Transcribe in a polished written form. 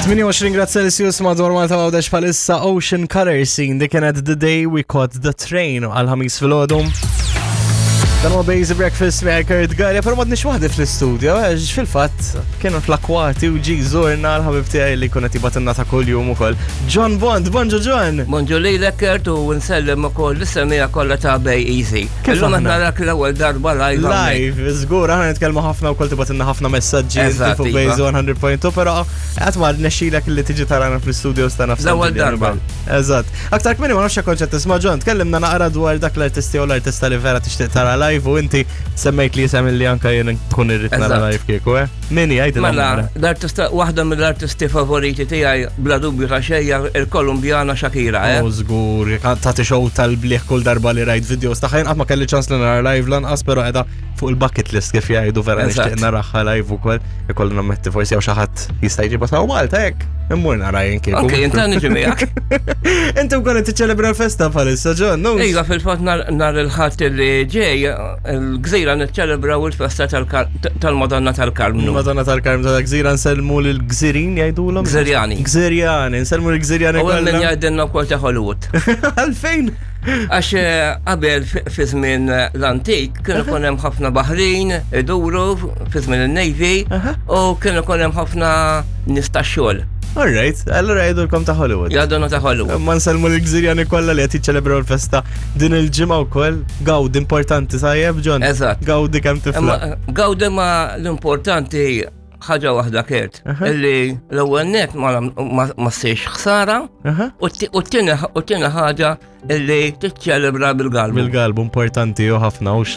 28 grad Celsius madwar Malta Għawdex palissa Ocean Color Scene di kienet The Day We Caught the Train għal-ħamis fil-ħodu. Dan huwa Basic Breakfast me Kurt Garja, però madniex waħdi fl-istudio, għax fil-fatt kienu fl-akwati u ġi żorna l-ħabib tiegħi li kunet jibatinna ta' kuljum ukoll. John Bond, bonġu John! Bonġu lilek Kurt u nsellem ukoll l-semija kollha ta' Bay Easy. Kif Illum qed aħna? narak l-ewwel darba live. hawnhekk. Live, żgur, aħna nitkellmu ħafna wkoll tibatinna ħafna messaġġi inti Eżatt, fuq iva. Base 100.2, però qatt ma rnexxilek li tiġi tarana fl-istudios tagħna f'San L-ewwel Ġiljan darba. ukoll. Eżatt. Aktar kmieni ma nafx jekk kontx qed tisma' John, tkellimna naqra dwar dak l-artisti jew l-artista li vera tixtieq tara live u inti semmejt li isem li anka jien nkun irrid nara Eżatt. live kieku, eh? Min hi għidilna Mela, naqra. l-artista, waħda mill-artisti favoriti tiegħi bla dubju ta' xejn hija il-Kolumbjana Shakira, eh? U żgur, tagħti show tal-bliħ kull darba li rajt videos tagħha jien qatt ma kelli ċans li nara live lanqas, però qiegħda fuq il-bucket list kif jgħidu vera Eżatt. nixtieq naraha live ukoll. Ikolli nammetti forsi hawn xi ħadd jista' jġibha sa Malta hekk. Immur nara jien kieku. Ok, inta niġi miegħek. Inti wkoll qed tiċċelebra l-festa bħalissa, John, no? Iva, fil-fatt nhar il-Ħadd li ġej, il-Gżira niċċelebraw il-festa tal-Madonna tal-Karmnu. Madonna tal-Karmnu tal-Gżira nsellmu lill-Gżirin jgħidulhom? Gżirjani. Gżirjani, nsellmu lill-Gżirjani U hemm min kollha. jgħidilna wkoll ta' Hollywood. Għalfejn? Għax eh, qabel fi żmien eh, l-antik kienu ikun hemm ħafna baħrin iduru fi żmien il-Navy u kienu ikun hemm ħafna nies tax-xogħol. All right, allura jgħidulkom ta' Hollywood. Jgħidulna ta' Hollywood. Ma nsellmu l-Gżirjani kollha li qed jiċċelebraw l-festa din il-ġimgħa wkoll. Gawdi importanti tajjeb, John. Eżatt. Gawdi kemm tifla. Gawdi ma l-importanti ħaġa waħda kert, illi l-ewwel net ma ssirx ħsara u t-tieni ħaġa illi tiċċelebra bil-galbu. Bil-galbu importanti u ħafna hux.